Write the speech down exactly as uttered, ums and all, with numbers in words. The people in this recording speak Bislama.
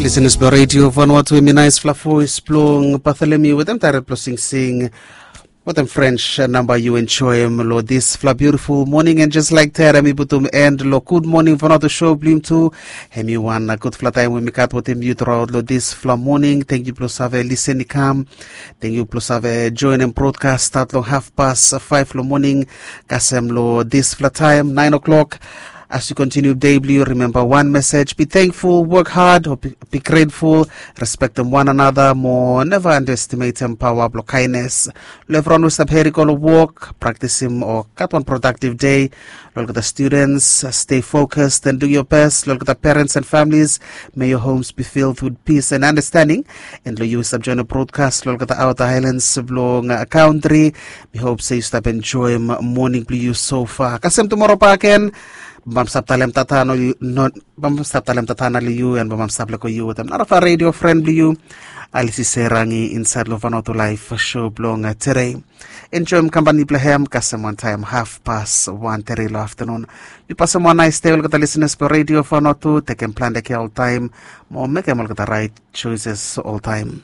Listeners blo Radio Vanuatu, hemi naesfala voes blong Bartholomew wetem taerel blo singsing wetem French namba yu enjoem lo disfala beautiful morning. And just like that, hemi putum end lo Good Morning Vanuatu show blong yumi tu. Hemi wan gudfala taem we mi gat wetem yu truaot lo disfala morning. Tangkiu blo save lisen i kam. Tangkiu blo save joenem brodkas stat long hafpas faef lo moning kasem lo disfala taem naen o'clock. As yu kontiniu dei blong yu, rimemba wan mesej: be thankful, work hard, be grateful, respektem wan another mo neva underestimatem paoa blong kaenes. Lo evriwan we stap heri go long wok, praktisim o gat wan prodaktiv dei. Lo olgeta students, stay focused and do your best. Lo olgeta parents and families, may your homes be filled with peace and understanding. And lo yu we stap joenem brodkas lo olgeta outer islands blong kantri, mi hop se yu stap enjoem moning blong yu so far. Kasem tumora bakegen, bamsap talem tata no yu no bamsap talem tata na long yu and bamsap leko yu wetem narafala radio fren blong yu, Alisi Serangi, insaed long Vanuatu Laef show blong tede. Enjoem kampani blong hem kasem wantaem hafpas wan tede lo aftanun. Yu pasem wan naes dei olgeta lisenas blong Radio Vanuatu. Tekem plante kea oltaem mo mekem olgeta raet joeses oltaem.